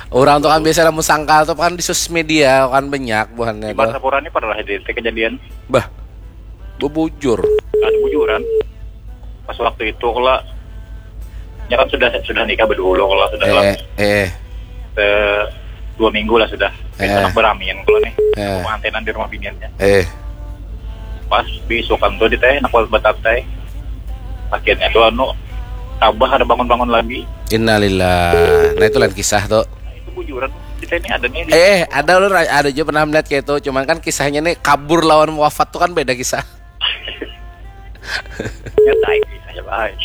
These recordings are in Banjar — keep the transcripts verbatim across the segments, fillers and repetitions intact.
Orang tuh kan biasa lamun sangkal tuh kan di sosial media kan banyak buhannya. Di Martapura ini pernah di kejadian. Bah, bebujur. Ada bujuran. Pas waktu itu kalau ya kan sudah sudah nikah berdulu kalau sudah eh, eh, eh. Eh, dua minggu lah sudah. Eh. Anak beramian kalau nih. Eh. Pengantinan di rumah biniannya. Eh. Pas bisukan tuh di teh, nak batat teh. Akhirnya tuh anu tabah ada bangun-bangun lagi. Innalillah. Nah itu lain kisah tuh. Nah, itu bujuran. Kita ini ada nih. Eh, ada loh, ada juga pernah melihat kayak itu. Cuman kan kisahnya nih kabur lawan wafat tuh kan beda kisah. Ya tai kisahnya baik.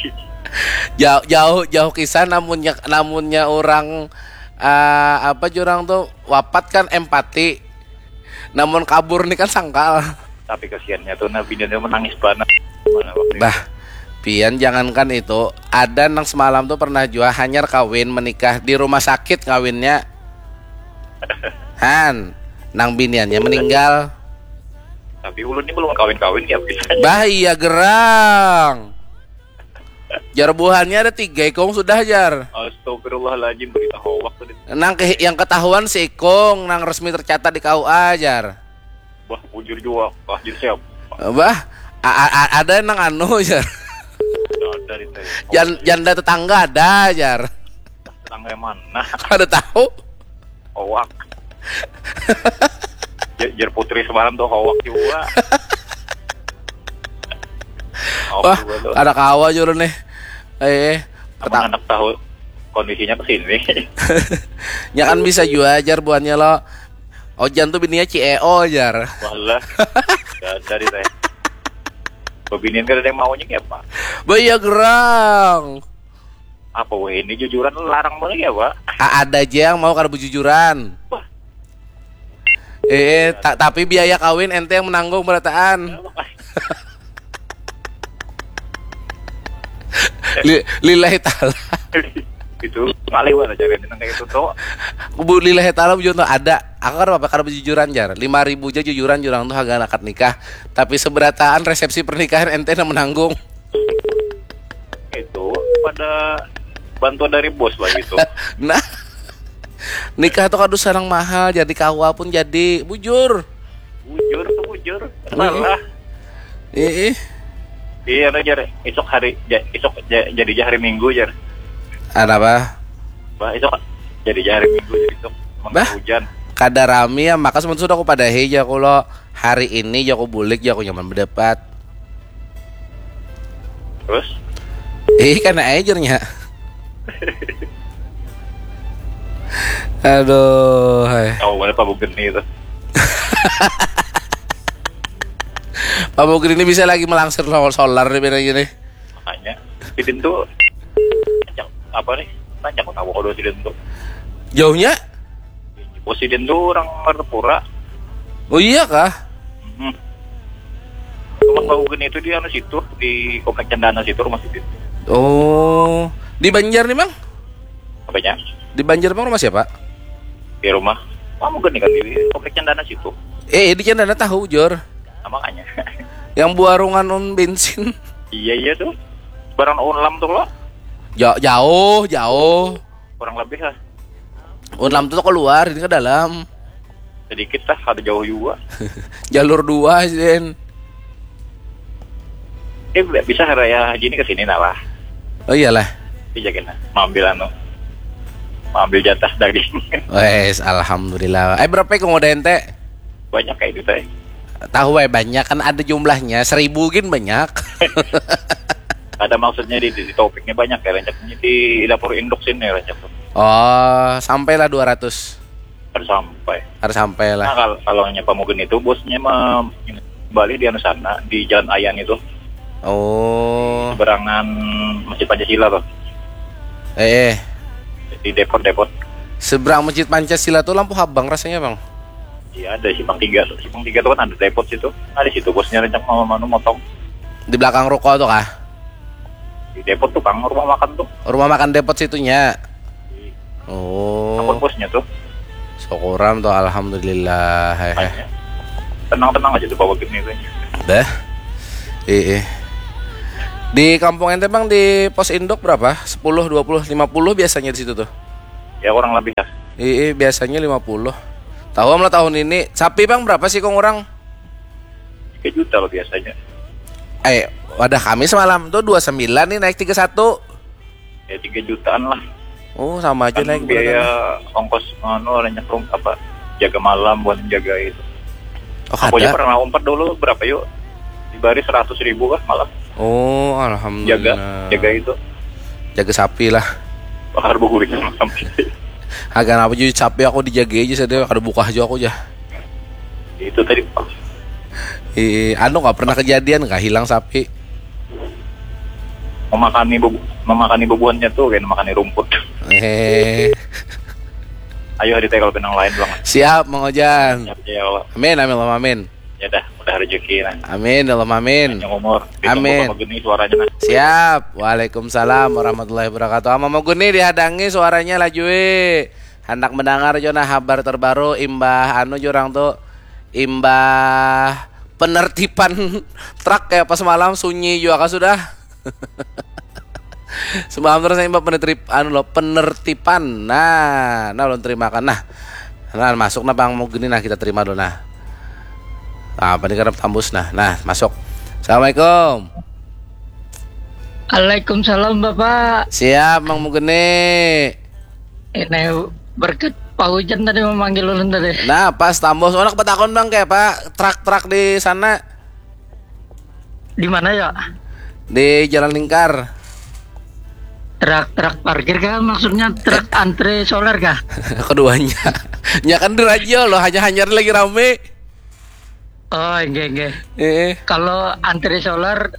Jauh jauh jauh kisah namunnya namunnya orang uh, apa jurang tuh wapat kan empati. Namun kabur nih kan sangkal. Tapi kasihannya tuh Nabi dia menangis banget. Bah, pian jangankan itu, ada nang semalam tuh pernah jua hanyar kawin menikah di rumah sakit kawinnya. Han, nang biniannya meninggal. Tapi ulun ini belum kawin-kawin ya bisa. Bah iya gerang. Jar buhannya ada tiga ikung sudah jar. Astagfirullahaladzim berita hoax tadi. Nang ke, yang ketahuan si ikung nang resmi tercatat di K U A jar. Bah bujur juga kah jadi siapa? Bah a, a, a, ada nang anu jar. Ada di teh. Jan, janda tetangga ada jar. Tetangga yang mana? Ada tahu? Hoak. Jer putri semalam tuh hoak juga. Wah, ada kawa juru nih. Eh, anak tahu kondisinya ke sini. Ya kan bisa juga ajar buahnya lo. Ojan tuh bininya C E O ajar. Walah. Gak ada di saya. Bebinian kan ada yang maunya kayak apa? Bah iya gerang. Apa weh ini jujuran larang banget ya pak? A- ada aja yang mau kada bujujuran. Wah. Eh, eh ta- tapi biaya kawin ente yang menanggung berataan. Li- lillahi ta'ala. Itu ngaliwat aja kan tentang kayak itu tuh. Bu lillahi ta'ala bujur tuh ada. Aku kan apa kada bujujuran jar. Lima ribu aja jujuran jurang tuh harga akad nikah. Tapi seberataan resepsi pernikahan ente yang menanggung. Itu pada bantuan dari bos lah gitu. Nah, nikah tuh kadu sarang mahal, jadi kawa pun jadi bujur. Bujur tuh bujur. Salah. Ih, iya ada jar esok hari ja, esok ja, jadi ja hari minggu jar. Ada apa? Bah esok jadi ja hari minggu jadi esok bah hujan. Kada rami ya maka sementara sudah aku padahi aja aku lo hari ini ya aku bulik ya aku nyaman berdebat. Terus? Eh kan aja nya. Aduh, hai. Tahu mana Pak Bugeni itu? Pak Bugeni ini bisa lagi melangsir solar di beda gini. Makanya, sidin tuh apa nih? Tanya aku tahu kalau sidin tuh. Jauhnya? Bos sidin tuh orang Martapura. Oh iya kah? Hmm. Rumah Pak Bugeni itu di anu situ di komplek Cendana situ rumah sidin. Oh, di Banjar nih bang? Apanya? Di Banjar bang rumah siapa? Di rumah Pak Bugeni kan di komplek Cendana situ. Eh di Cendana tahu jor. Nah, makanya. Yang buarungan on bensin. Iya iya tuh. Barang Unlam tuh lo. Ja- jauh jauh. Kurang lebih lah. Unlam tuh keluar ini ke dalam. Sedikit lah ada jauh juga. Jalur dua sih. Eh bisa raya haji ini ke sini nah lah. Oh iyalah. Bisa kena. Mambil anu. Mambil jatah daging. Wes alhamdulillah. Eh berapa kau udah ente? Banyak kayak gitu eh. Tahu eh banyak kan ada jumlahnya seribu gin banyak. Ada maksudnya di, di topiknya banyak ya rancaknya di dapur induk sini rancak. Oh sampailah dua ratus. Harus sampai. Harus sampai lah. Nah kalau kalau hanya pamukin itu bosnya mah balik di anu sana di Jalan Ayan itu. Oh. Seberangan Masjid Pancasila tuh. Eh. Di depot-depot. Seberang Masjid Pancasila tuh lampu habang rasanya bang. Iya ada simpang tiga, simpang tiga tuh kan ada depot situ. Ada situ bosnya rencang mau manu motong. Di belakang ruko tuh kah? Di depot tuh bang, rumah makan tuh. Rumah makan depot situnya. Oh. Akun bosnya tuh. Syukuran tuh alhamdulillah. Hehe. Tenang tenang aja tuh bawa gini tuh. Dah. Iya. Di kampung ente bang di pos induk berapa? Sepuluh, dua puluh, lima puluh biasanya di situ tuh. Ya kurang lebih lah. Ii, biasanya lima puluh. Tahu am lah tahun ini. Sapi bang berapa sih kong orang? Tiga juta lah biasanya. Eh, wadah kami semalam tuh dua sembilan nih naik tiga satu. Ya tiga jutaan lah. Oh, sama aja Kan naik biaya beneran. Ongkos anu, orang nyekrung apa, jaga malam buat jaga itu. Oh, Aku aja ada. Pernah umpat dulu berapa yuk? Dibari seratus ribu kah malam. Oh, Jaga, alhamdulillah. Jaga itu. Jaga sapi lah. Bakar buku itu malam. Agak apa jadi sapi aku dijaga aja saja, kada buka aja aku aja. Itu tadi pas Ih, anu nggak pernah kejadian nggak hilang sapi. Memakani bebu, memakani bebuhannya tuh kayak memakani rumput. Eh, Ayo hari teh kalau benang lain bang. Siap Mang Ojan. Ya, ya Allah. Amin, amin, Allahumma amin. Ya dah, udah rezeki nah. Amin, Allahumma amin. Yang umur. Amin. Sama gini suaranya nah. Siap. Waalaikumsalam warahmatullahi wabarakatuh. Ama Moguni dihadangi suaranya lajui. Hendak mendengar jo nah habar terbaru imbah anu jurang tu, imbah penertiban truk kayak pas malam sunyi juga kah sudah. Semalam terus imbah penertip anu lo penertiban. Nah, nah ulun terimakan nah. Nah, masuk nah Bang Moguni nah kita terima dulu nah. Apa nih karena tambus nah. Nah, masuk. Assalamualaikum. Waalaikumsalam Bapak. Siap Mang Mugeni. Ini berkat Pak Hujan tadi memanggil ulun tadi. Nah, pas tambus anak betakon Bang kayak apa? Truk-truk di sana Di mana ya? Di Jalan Lingkar. Truk-truk parkir kah, maksudnya truk antre solar kah? Keduanya. Ya kan di radio loh, hanya hanyar lagi rame. Oh, enggak, enggak. Eh, Kalau antre solar,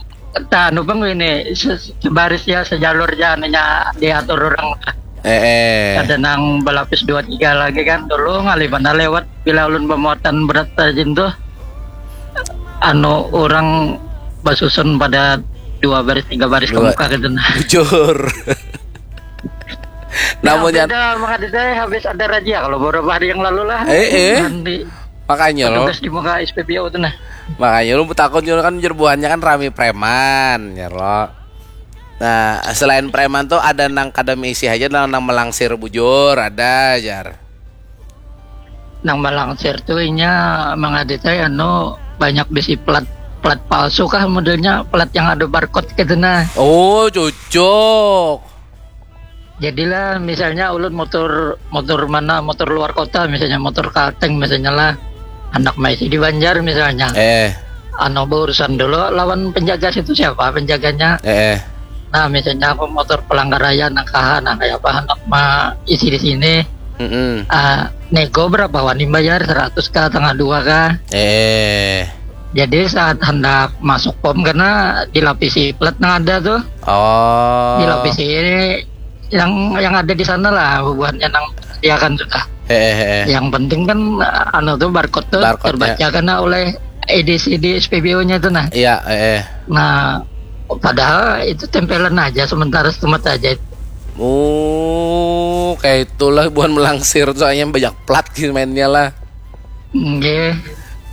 tak anu bang ini se- sebaris ya, sejalur ya, anunya diatur orang. eh, eh. Ada nang berlapis dua tiga lagi kan dulu ngalih mana lewat bila ulun pemuatan berat rajin tuh. Anu orang basusun pada dua baris tiga baris Dua. Kemuka gitu nah. Jujur. Namun Nah, yang beda maka di saya habis ada razia kalau beberapa hari yang lalu lah. Eh, eh. Nanti Makanya loh. Petugas di muka S P B O tuh nah. Makanya lu takut juga kan jerbuhannya kan rame preman ya lo. Nah, selain preman tuh ada nang kada misi aja nang, nang melangsir bujur ada jar. Nang malangsir tuh inya mangaditai anu banyak bisi plat plat palsu kah modelnya, plat yang ada barcode gitu nah. Oh, cocok. Jadilah misalnya ulun motor motor mana, motor luar kota misalnya, motor Kalteng misalnya lah, anak maisi di Banjar misalnya. Eh, Anu berurusan dulu lawan penjaga situ, siapa penjaganya. eh, eh. Nah misalnya aku motor pelanggar raya, nah kaha nah kayak apa, anak ma isi di sini. Mm-mm. Ah, nego berapa wani bayar, seratus kah, tengah dua kah? Eh. Jadi saat hendak masuk pom karena dilapisi plat yang ada tuh, Oh. dilapisi ini yang yang ada di sana lah bubuhannya nang disediakan sudah. Eh, eh, eh. Yang penting kan anu tuh barcode tuh Barcode-nya. Terbaca karena oleh E D C di S P B O-nya tuh nah. Iya, eh, eh. Nah, padahal itu tempelan aja sementara, setemat aja. Oh, kayak itulah buhan melangsir soalnya banyak plat gitu mainnya lah. Nggih.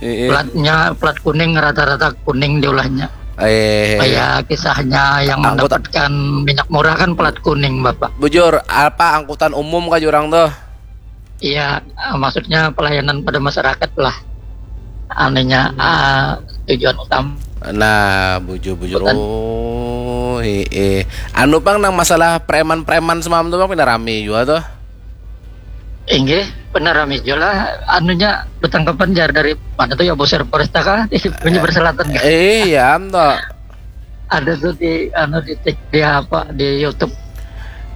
Eh, eh. Platnya plat kuning, rata-rata kuning diulahnya. Eh. Kayak kisahnya yang Angkut- mendapatkan minyak murah kan plat kuning, Bapak. Bujur, apa angkutan umum kah jurang tuh? Iya, ah, maksudnya pelayanan pada masyarakat lah. Anunya ah, tujuan utama. Nah, bujur-bujur. Bukan. Oh, eh, eh. Anu bang, nang masalah preman-preman semalam tuh bang, pindah rame juga tuh. Inggih, benar rame juga lah. Anunya bertanggapan jar dari mana tuh ya, Bosir Polresta kah? Di Banjar Selatan kah? Eh, iya, am tuh. Ada tuh di anu di tik di apa di YouTube.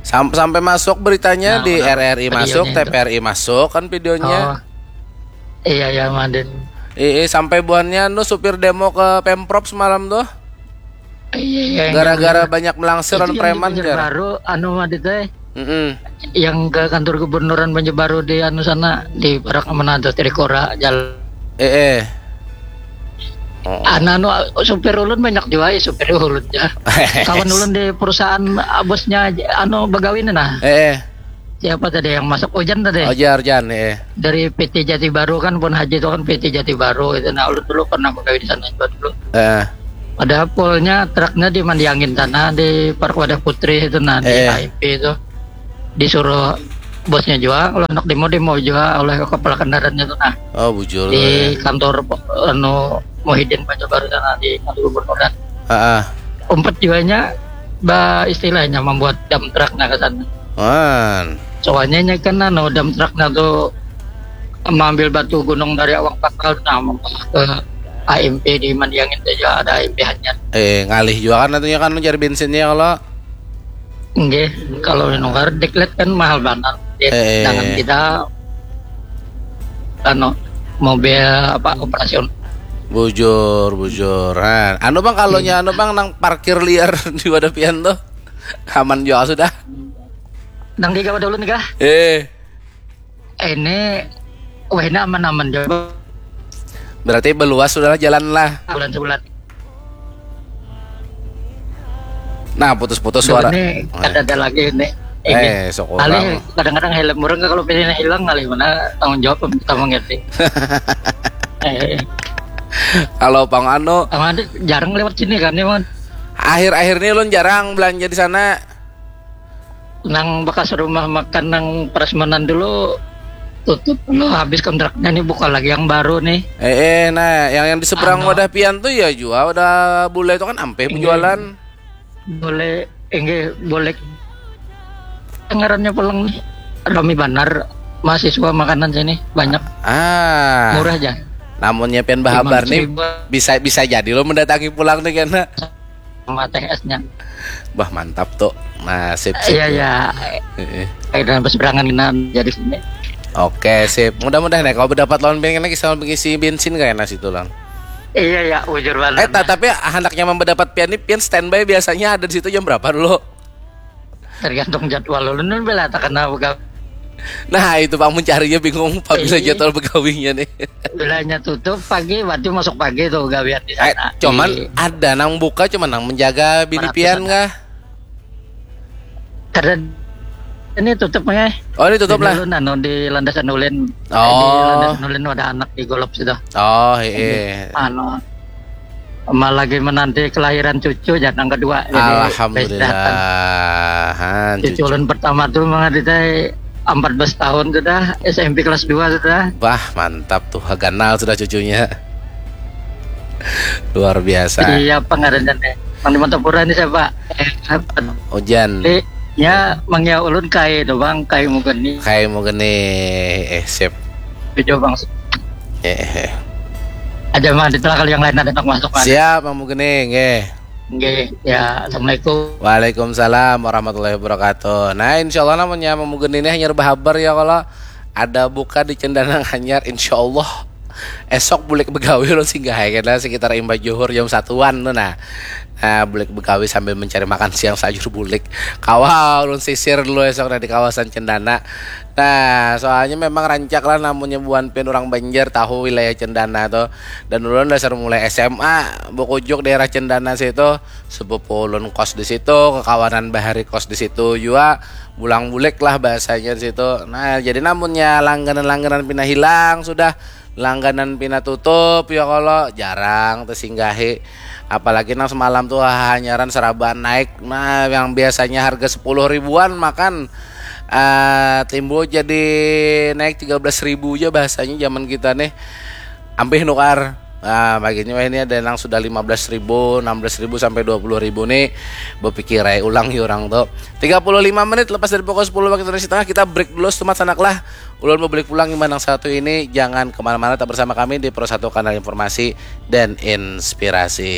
Sam- sampai masuk beritanya Nah, di orang R R I masuk, videonya itu. T V R I masuk kan videonya. Oh. Iya ya, Madin. Eh, eh, sampai buhannya nu supir demo ke Pemprov semalam tuh. Iya, iya. Gara-gara Iya. Banyak melangsir Itu anu yang di preman jar. Banjarbaru, anu Madin teh, Mm-mm. yang ke kantor gubernuran Banjarbaru di anu sana, di Parak mana tuh, Trikora jalan. Eh, eh. Oh. Anu, anu, supir ulun banyak juga ya, supir ulun ya. Kawan ulun di perusahaan, ah, bosnya anu begawi nih nah. Eh, eh. Siapa tadi yang masuk, Ojan tadi? Ojar Jan, eh. Dari P T Jati Baru kan, pun haji itu kan P T Jati Baru itu. Nah, ulun dulu pernah begawi di sana juga dulu. Eh. Padahal polnya truknya di Mandiangin sana, di Park Wadah Putri itu nah, di Eh. H I P itu. Disuruh bosnya juga, kalau nak demo, demo juga oleh kepala kendaraannya tuh, nah. Oh, bujur. Di kantor, anu, Muhyiddin Banjarbaru sana, di kantor gubernur, kan. Heeh. Umpat juanya, bah, istilahnya membuat dump truck, nah, ke sana. Man. Soalnya nya kan, anu, dump truck, nah, tuh mengambil batu gunung dari awang pangkal, nah, membawa ke A M P di Mandiang itu juga ada A M P hanyar. Eh, ngalih juga kan, atunya kan, cari bensinnya kalau. Nggih, kalau nukar diklat kan mahal banget. Eh. Jangan kita, anu, mobil apa, operasional. Bujur, bujur. Nah, anu, Bang, kalau nya, anu, Bang, nang parkir liar di wadah pian tuh, aman juga sudah. Nang di gawat dulu nih, kah? Eh. Ini, wah, ini aman-aman juga. Berarti beluas sudahlah jalan lah. Bulan sebulan. Nah, putus-putus suara. Ini kada ada lagi ini. Eh, syukur. Kadang-kadang helm orang kalau pilihnya hilang, kali mana tanggung jawab, kita mengerti. Eh. Kalau Pang Anu, Pang Anu jarang lewat sini kan, ya, Man? Akhir-akhir ini ulun jarang belanja di sana. Nang bekas rumah makan nang prasmanan dulu tutup lo, habis kontraknya nih, buka lagi yang baru nih. Eh, eh, nah, yang, yang di seberang wadah pian tuh ya jua, wadah bule itu kan ampih berjualan. Bule, enggak, boleh. Ngarannya pulang nih. Rami banar mahasiswa makanan sini, banyak. Ah. Murah aja. Namunnya pian bahabar nih, bisa, bisa jadi lo mendatangi pulang nih, kena. Sama teh esnya. Bah, mantap tuh. Nah, sip, sip. Iya, iya. Heeh. Akhirnya berseberangan kena jadi sini. Oke, sip. Mudah-mudahan ya kalau berdapat lawan pian kena kisah mengisi bensin kayak nasi tulang. Iya, iya, bujur banget. Eh, ta- tapi handaknya mendapat pian nih, pian standby biasanya ada di situ jam berapa dulu? Tergantung jadwal ulun, bela tak kena begawi. Nah, itu Pang mencarinya bingung, Pak, bila jadwal begawinya nih. Bilanya tutup pagi, berarti masuk pagi tuh gawian di sana. Eh, cuman ada nang buka, cuman nang menjaga bini pian kah? Karena ini tutup nih. Oh, ini tutup lah. Ulun anu di Landasan Ulin. Oh. Di Landasan Ulin ada anak di Golop situ. Oh, iya. Anu, malah lagi menanti kelahiran cucu, ya, yang kedua. Jadi, alhamdulillah. Cucu ulun pertama tuh mah di empat belas tahun sudah, S M P kelas dua sudah. Bah, mantap tuh, ganal sudah cucunya. Luar biasa. Iya, pengarannya nih. Mang di Mantapura nih siapa? Eh, Ujan. Eh, ya, Mang ya ulun kai tuh, Bang, kai mugeni. Kai mugeni. Eh, sip. Cucu, Bang. Eh, eh. Aja, Mang, ditelah kalau yang lain ada nak masuk, Mang. Siap, Mang Mugeni, nggih. Nggih, ya, assalamualaikum. Waalaikumsalam warahmatullahi wabarakatuh. Nah, insyaallah namanya Mang Mugeni ini hanyar bahabar ya, kalau ada buka di Cendana Hanyar, insyaallah esok bulik begawi lo singgah ya, kena sekitar imbah juhur jam satuan tuh, nah. Nah, bulik begawi sambil mencari makan siang sajur bulik. Kawa ulun sisir dulu esok, nah, di kawasan Cendana. Nah, soalnya memang rancak lah, namunnya buan pian orang Banjar tahu wilayah Cendana tuh. Dan ulun dasar mulai S M A bekujuk daerah Cendana situ, sepupu ulun kos di situ, kekawanan bahari kos di situ jua, bulang bulik lah bahasanya di situ. Nah, jadi namunnya langganan-langganan pina hilang sudah, langganan pina tutup ya, kalau jarang tersinggahi. Apalagi nang semalam tuh hanyaran seraba naik. Nah, yang biasanya harga sepuluh ribuan makan, eh, timbul jadi naik tiga belas ribu aja bahasanya zaman kita nih. Ampih nukar. Nah, baginya wah ini ada yang sudah lima belas ribu, enam belas ribu sampai dua puluh ribu nih. Berpikir aja ulang ya orang tuh. Tiga puluh lima menit lepas dari pukul sepuluh waktu Indonesia Tengah, kita break dulu, semat sanak lah. Ulun mau balik pulang iman yang satu ini, jangan kemana-mana, tetap bersama kami di Pro Satu Kanal Informasi dan Inspirasi.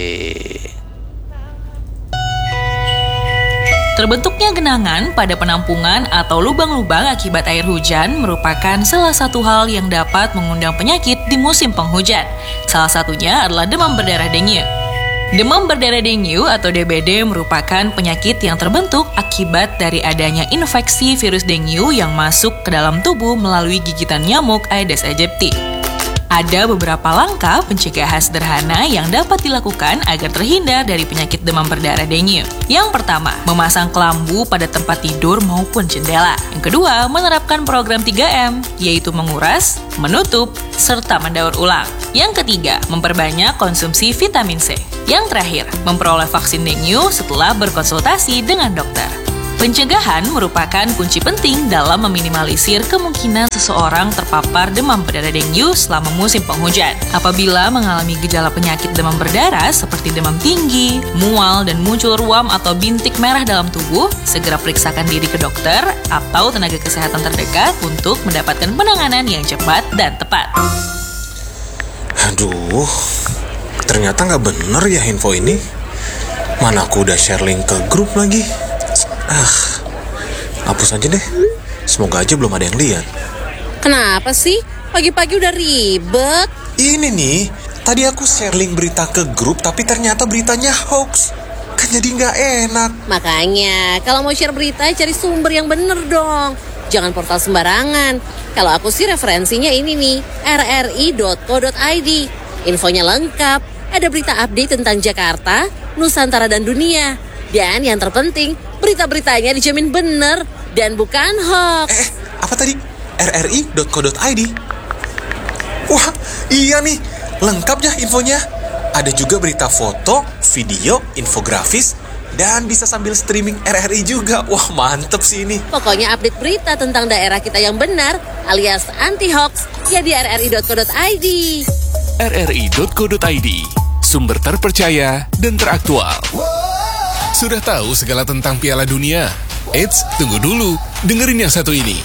Terbentuknya genangan pada penampungan atau lubang-lubang akibat air hujan merupakan salah satu hal yang dapat mengundang penyakit di musim penghujan. Salah satunya adalah demam berdarah dengue. Demam berdarah dengue atau D B D merupakan penyakit yang terbentuk akibat dari adanya infeksi virus dengue yang masuk ke dalam tubuh melalui gigitan nyamuk Aedes aegypti. Ada beberapa langkah pencegahan sederhana yang dapat dilakukan agar terhindar dari penyakit demam berdarah dengue. Yang pertama, memasang kelambu pada tempat tidur maupun jendela. Yang kedua, menerapkan program tiga M, yaitu menguras, menutup, serta mendaur ulang. Yang ketiga, memperbanyak konsumsi vitamin C. Yang terakhir, memperoleh vaksin dengue setelah berkonsultasi dengan dokter. Pencegahan merupakan kunci penting dalam meminimalisir kemungkinan seseorang terpapar demam berdarah dengue selama musim penghujan. Apabila mengalami gejala penyakit demam berdarah seperti demam tinggi, mual, dan muncul ruam atau bintik merah dalam tubuh, segera periksakan diri ke dokter atau tenaga kesehatan terdekat untuk mendapatkan penanganan yang cepat dan tepat. Aduh, ternyata nggak bener ya info ini. Mana aku udah share link ke grup lagi. Ah, hapus aja deh. Semoga aja belum ada yang lihat. Kenapa sih? Pagi-pagi udah ribet. Ini nih, tadi aku share link berita ke grup tapi ternyata beritanya hoax. Kan jadi nggak enak. Makanya, kalau mau share berita, cari sumber yang bener dong. Jangan portal sembarangan. Kalau aku sih referensinya ini nih, rri.co.id. Infonya lengkap, ada berita update tentang Jakarta, Nusantara dan dunia. Dan yang terpenting, berita-beritanya dijamin bener dan bukan hoax. Eh, apa tadi? rri.co.id. Wah, iya nih, lengkap ya infonya. Ada juga berita foto, video, infografis, dan bisa sambil streaming RRI juga. Wah, mantep sih ini. Pokoknya update berita tentang daerah kita yang benar alias anti hoax ya di rri.co.id. rri.co.id, sumber terpercaya dan teraktual. Sudah tahu segala tentang Piala Dunia? Eits, tunggu dulu. Dengerin yang satu ini.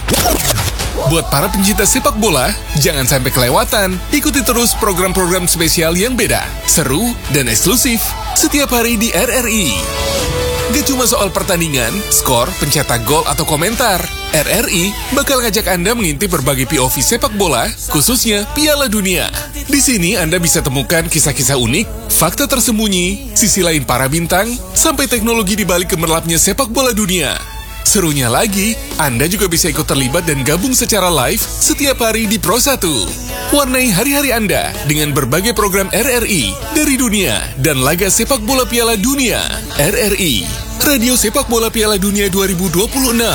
Buat para pencinta sepak bola, jangan sampai kelewatan. Ikuti terus program-program spesial yang beda, seru, dan eksklusif setiap hari di RRI. Gak cuma soal pertandingan, skor, pencetak gol, atau komentar. RRI bakal ngajak Anda mengintip berbagai P O V sepak bola, khususnya Piala Dunia. Di sini Anda bisa temukan kisah-kisah unik, fakta tersembunyi, sisi lain para bintang, sampai teknologi di balik gemerlapnya sepak bola dunia. Serunya lagi, Anda juga bisa ikut terlibat dan gabung secara live setiap hari di Pro satu. Warnai hari-hari Anda dengan berbagai program RRI dari dunia dan laga sepak bola Piala Dunia. RRI, Radio Sepak Bola Piala Dunia dua ribu dua puluh enam.